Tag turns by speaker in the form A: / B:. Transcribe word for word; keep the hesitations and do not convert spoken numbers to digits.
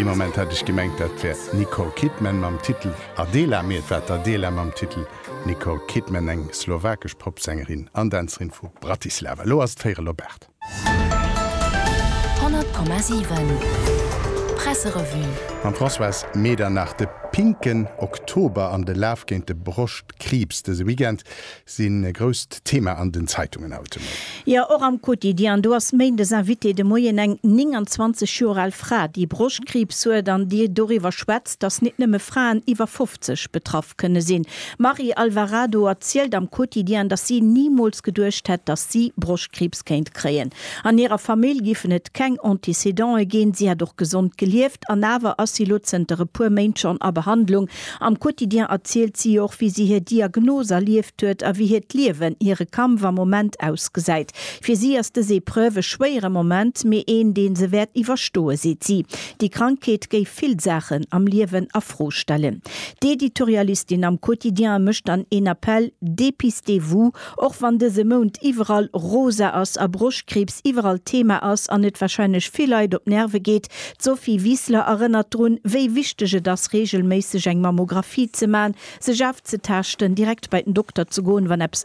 A: Ee Moment hat ech gemengt, dat wär d'Nicole Kidman mam Titel Adela, mee et war d'Adela mam Titel Nicole Kidman, eng slowakesch Popsängerin an Dänzerin vu Bratislava. Elo ass et véierel op aacht.
B: honnert Komma siwen Presserevue.
A: Mam Françoise Medernach. De pinken Oktober an de Laf géint de Broschtkriibs dëse Weekend sinn e grousst Thema an den Zeitungen haut de Moien.
C: Jo, och am Quotidien. Do ass méindes Invité de Moien eng nénganzwanzeg Joer al Fra, déi Broschtkriibs huet an déi doriwwer schwätzt, dass nit nëmme Fraen iwwer fofzeg betraff kënne sinn. D'Marie Alvarado erzielt am Quotidien, dass si nimools geduecht hätt, dass si Broschtkriibs kéint kréien. An hirer Famill géifen et keng Antécédenten ginn, si hätt och gesond gelieft an awer ass si lo zënter e puer Méint schonn a Behandlung. Am Quotidien erzielt si och, wéi si hir Diagnos erlieft huet a wéi hiert Liewen, hire Kampf am Moment ausgesäit. Fir si ass dës Epreuve e schwéiere Moment, mee een, dee se wäert iwwerstoen, seet si. Déi Krankheet géif vill Saachen am Liewen a Fro stellen. D'Editorialistin am Quotidien mécht dann een Appell, Dépistez-vous! Och wann dëse Mount iwwerall rosa ass a Broschtkriibs iwwerall Thema ass an et warscheinlech vill Leit op d'Nerve geet, d'Sophie Wiseler erënnert drun, wéi wichteg et ass, reegelméisseg eng Mammographie ze man, sech ofzetaaschten, direkt bei den Dokter ze goen, wann eppes